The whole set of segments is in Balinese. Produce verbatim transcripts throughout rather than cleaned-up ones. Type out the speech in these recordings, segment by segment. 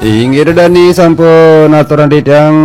Inggih, Ida Dani sampun aturang titiang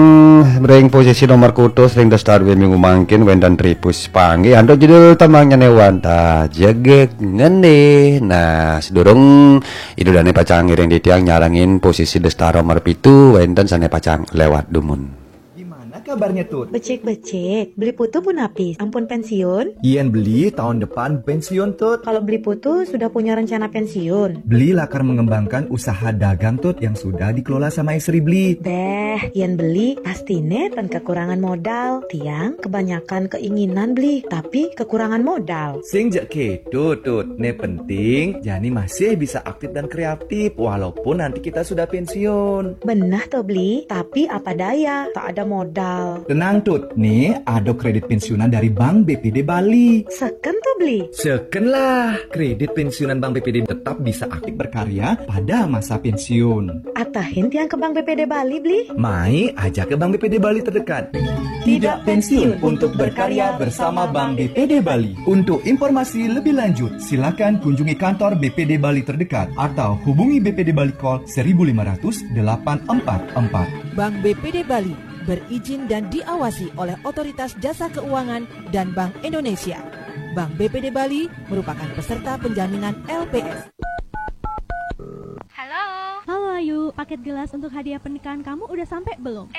ring posisi nomor kutus ring The Star W minggu mangkin, wénten Tripus panggih antuk judul Tembang Nyané Wantah Jegég Ngenéh. Nah, sadurung Ida Dani pacang ngiring titiang nyarengin posisi The Star nomor pitu, wénten sané pacang léwat dumun. Gimana kabarnya, Tut? Becik-becik. Beli Putu punapi? Ampun pensiun? Yén beli tahun depan pensiun, Tut. Kalau Beli Putu sudah punya rencana pensiun? Beli lakar mengembangkan usaha dagang, Tut, yang sudah dikelola sama istri beli. Béh, yén beli pastiné tan kekurangan modal. Tiang kebanyakan keinginan beli, tapi kekurangan modal. Sing ja kéto, Tut. Né penting, jani masih bisa aktif dan kreatif walaupun nanti kita sudah pensiun. Beneh to, Bli, tapi apa daya, tak ada modal. Tenang, Tut, nih ada kredit pensiunan dari Bank B P D Bali. Seken to, Bli? Seken lah, kredit pensiunan Bank B P D tetap bisa aktif berkarya pada masa pensiun. Atahin tiang ke Bank B P D Bali, Bli? Mai aja ke Bank B P D Bali terdekat. Tidak pensiun untuk berkarya bersama Bank B P D Bali. Untuk informasi lebih lanjut, silakan kunjungi kantor B P D Bali terdekat atau hubungi B P D Bali Call seribu lima ratus delapan empat empat. Bank B P D Bali berizin dan diawasi oleh Otoritas Jasa Keuangan dan Bank Indonesia. Bank B P D Bali merupakan peserta penjaminan L P S. Halo. Halo Ayu, paket gelas untuk hadiah pernikahan kamu udah sampai belum?